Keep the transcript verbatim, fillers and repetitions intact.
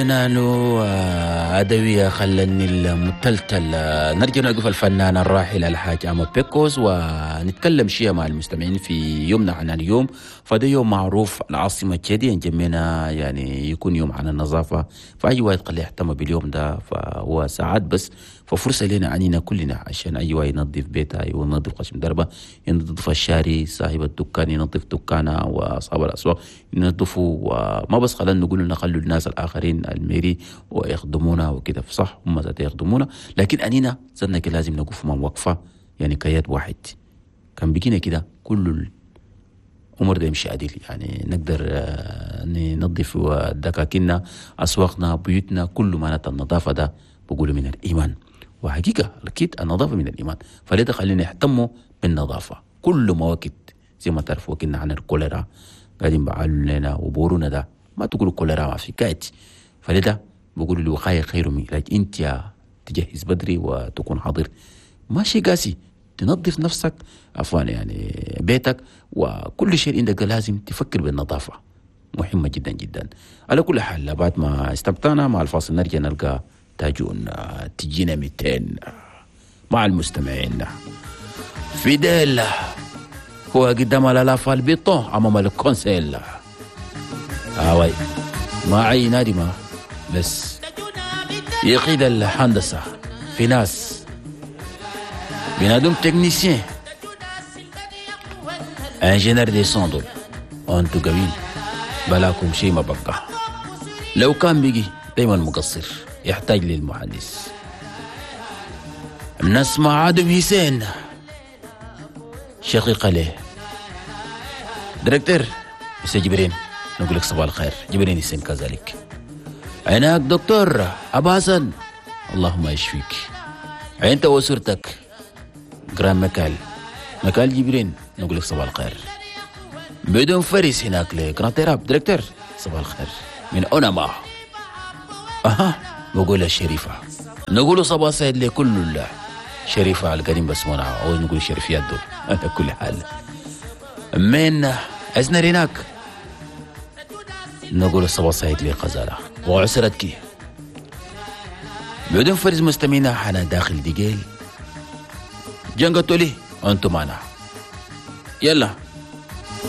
نانو عدوية خلني المتلتل. نرجع نقف الفنان الراحل الحاج أما بيكوز ونتكلم شيء مع المستمعين في يومنا عن اليوم. فده يوم معروف العاصمة تشادية نجمينا، يعني يكون يوم عن النظافة، فأي واحد قال يهتم باليوم ده فهو ساعات بس، ففرصة لنا عنينا كلنا عشان أي واحد ينظف بيته، ينظف خشم دربه، ينظف الشارع، صاحب الدكان ينظف دكانه، وأصحاب الأسواق ينظفوا، وما بس خلينا نقول نخلوا الناس الآخرين الميري ويخدمونا وكده، صح هم ذات يخدمونا، لكن أنينا صرنا كده لازم نقف مع وقفة يعني كياد واحد. كان بيجينا كده كل الأمور ده يمشي عديل، يعني نقدر ننظف دكاكيننا، أسواقنا، بيوتنا، كل ما النظافة ده بقولوا من الإيمان، وحقيقة أكيد النظافة من الإيمان، فلذا خلينا نهتموا بالنظافة كل ما وقت زي ما تعرفوا كنا عن الكوليرا قاعدين بعالوا لنا وبورونا ده ما تقولوا كوليرا ما في كات، فلذا بقولوا الوقاية خير من العلاج. انت يا تجهز بدري وتكون حاضر، ماشي قاسي تنظف نفسك عفوا يعني بيتك وكل شيء عندك لازم تفكر بالنظافة، مهمة جدا جدا. على كل حال بعد ما استمتعنا مع الفاصل نرجع نلقى تاجون تجينا مئتين مع المستمعين. فيديل هو قدام الآلاف البيطون أمام الكونسيل آه ما أي نادي ما بس يقيد الهندسة في ناس بنادم technicien ingénieur de son دول انتو قوين بلاكم شيء ما بقى، لو كان بيجي دايما مقصر يحتاج للمهندس. نسمع آدم حسين شقيق له directeur مسيو جبرين، نقول لك صباح الخير جبرين حسين كذلك. هناك دكتور أبو حسن اللهم يشفيك انت واسرتك، grand مكال مكال جبرين نقول لك صباح الخير. بدون فريس هناك ل grand تيراب directeur صباح الخير من أونما. أها بقول الشريفة نقول صباح سعيد لكل الله شريفة على القديم بس مونا أو نقول شريفيات دول على كل حال. من أزنر هناك نقول صباح سعيد لغزالة وعسرتك. بدون فرز مستمعينا حنا داخل ديجيل جنگتولي أنتم معنا يلا.